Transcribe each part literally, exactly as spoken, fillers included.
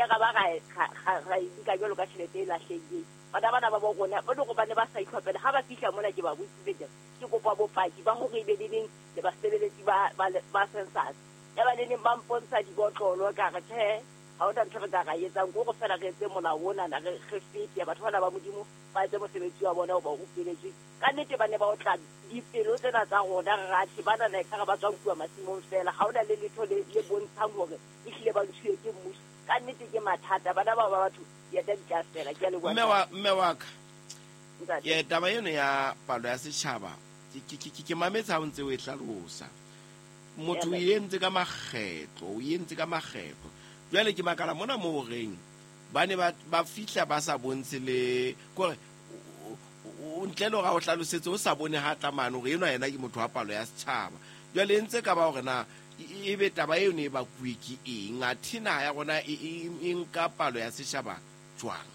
ile ra ba ra ra nka jwalo ka tjhelete e lahlehileng. Bana bana ba bo rona ba le bane ba sa itlhophela ha ba fihla mona ke ba botsitse ke ke kopa bopaki ba hore ebe le neng le basebeletsi ba ba census. Ya ba le neng ba mpontsha dibotlolo ka re tjhe ha ona ntho re ka ra etsang go go fela re etse molao ona na re re fete batho bana ba Modimo ba etse mosebetsi wa bona o ba rupeletswe. Ka nnete ba ne ba otla dipelo tsena tsa rona re rathe bana na ekare ba tswa nkuwa masimong fela ha ona le letho le le bontshang hore ehlile ba ntshuwe ke mmuso. Ka nnete ke mathata bana ba ba batho ya tla di fela ke a leboha. Mme wa mme wa ka ye taba eno ya palo ya setjhaba ke ke ke mametse ha o ntse o e hlalosa. Motho o entse ka makgetlo o entse ka makgetlo. Jwale ke makala mona mo reng ba ne ba ba fihla ba sa bontshe le kore o ntle le hore o hlalosetse o sa bone ha tla mane hore enwa yena ke motho wa palo ya setjhaba. Jwale ntse ka ba hore na e be taba eo ne e bakuwe ke eng athe naha ya rona e nka palo ya setjhaba jwang?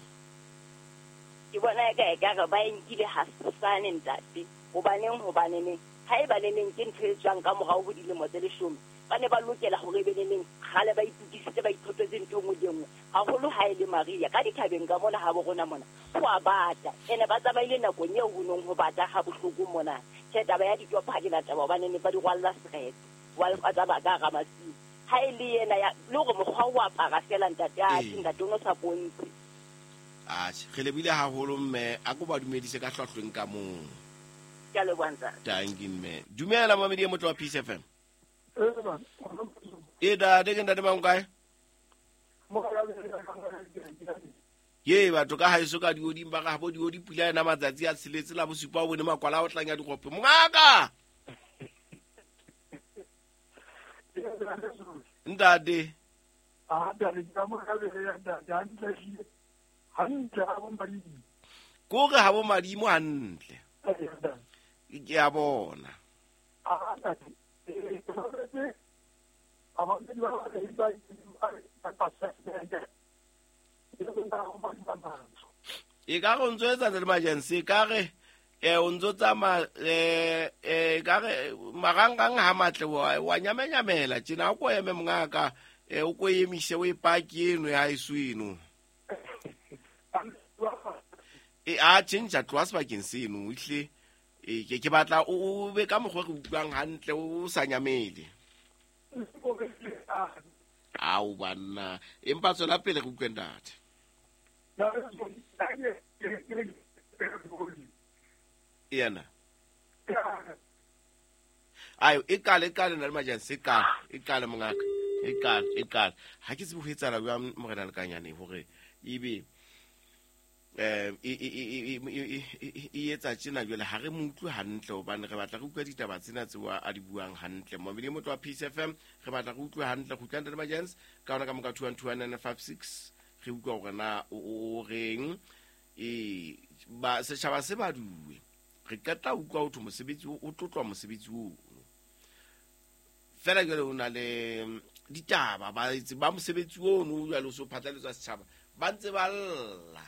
Ke bona eka ekare ba e nkile hasane ntate. Hobaneng hobaneng ha e ba le neng ke ntho e tswang ka morao ho dilemo tse leshome ba ne ba lokela hore be le neng kgale ba itukisitse ba ithotetse ntho nngwe le nngwe haholo ha e le Maria ka dithabeng ka mona ha bo rona mona ho a bata ene ba tsamaile nakong eo ho nong ho bata ha bohloko mona. Tjhe taba ya ditopo ha ke na taba hobane ne ba di rwalla seretse wa ba tsamaya ka hara masimo. Ha e le yena ya le hore mokgwa o apara fela ntate a ntate o no sa bontshe. Atjhe re lebile haholo mme a ko ba dumedise ka hlwahlweng ka mong. Ke a leboha ntate. Thank you mme. Dumela mamedi e motho wa Peace F M. E da de ke ntate mang kae? Ye batho ka haeso ka dioding ba ga bo diodi pula ena matsatsi a tsheletse la bosupa o bone makwala o tlanya dikgope. Mongaka. Ntate. Ah ntate ke mo ka be ya ntate hantle hantle ha bo madimo. Ko re ha bo madimo hantle. Ke a bona. Ah ntate e ka re o ntso etsa le emergency ka re eh o ntso tsamaya eh eh ka re marangrang ha matle wa wa nyamenyamela tjena o ko eme mongaka eh o ko emise o e paki eno ya haeso eno e a tjhentjha tloha sebakeng seno ehle e ke ke batla o be ka mokgwa re utlwang hantle o sa nyamele. Ao banna empa tswela pele re utlwe ntate. Yena ayo e kale e kale na le majanse e kale e kale mongaka e kale e kale ha ke tsebe ho etsahala jwang morena Lekanyane hore ebe eh e e e e etsa tjena jwale ha re mo utlwe hantle hobane re batla re utlwa ditaba tsena tseo a di buang hantle. Momedi motho wa Peace F M re batla re utlwe hantle go utlwa ntate Majens ka ona ka moka two one two nine five six re utlwa hore na o reng e ba setjhaba se baduwe re qeta utlwa ho mosebetsi o tlotlwa mosebetsi o fela jwale o na le ditaba ba itse ba mosebetsi ono jwale o so phatlaletswa setjhaba ba ntse ba lla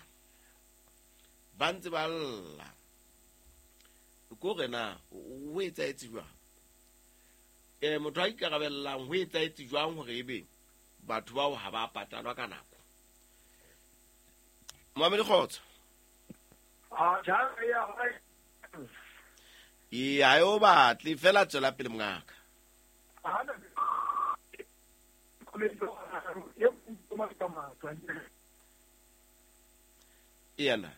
ba ntse ba lla ko re na o etsaetse jwang eh motho a ikarabellang ho etsaetse jwang hore ebe batho bao ha ba patalwa ka nako. Moamedi kgotso. Ah ja ya e ha o batle fela tswela pele mongaka. Yena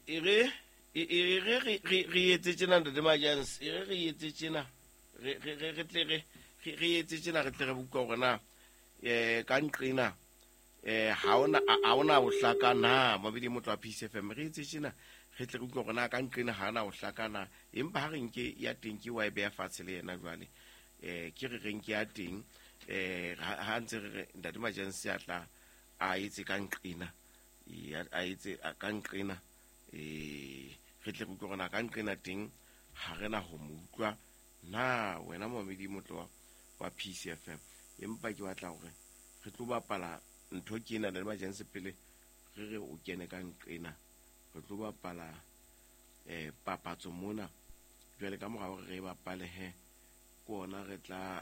e re e re re re etse tjena ntate Majens e re re etse tjena re re re tle re re etse tjena re tle re utlwa hore na eh ka nqena eh ha ona ha ona ho hlaka na mabedi motho wa Peace F M re etse tjena re tle re utlwa hore na ka nqena ha na ho hlaka na empa ha re nke ya teng ke wa e beha fatshe le yena jwale eh ke re re nke ya teng eh ha ntse re ntate Majens ya tla a etse ka nqena a etse ka nqena eh re tle re utlwe hore na ka nqena teng ha re na ho mo utlwa na wena momedi motlo wa Peace F M empa ke batla hore re tlo bapala ntho ke ena le Majens pele re re o kene ka nqena re tlo bapala eh papatso mona jwale ka mora hore re bapale he ke ona re tla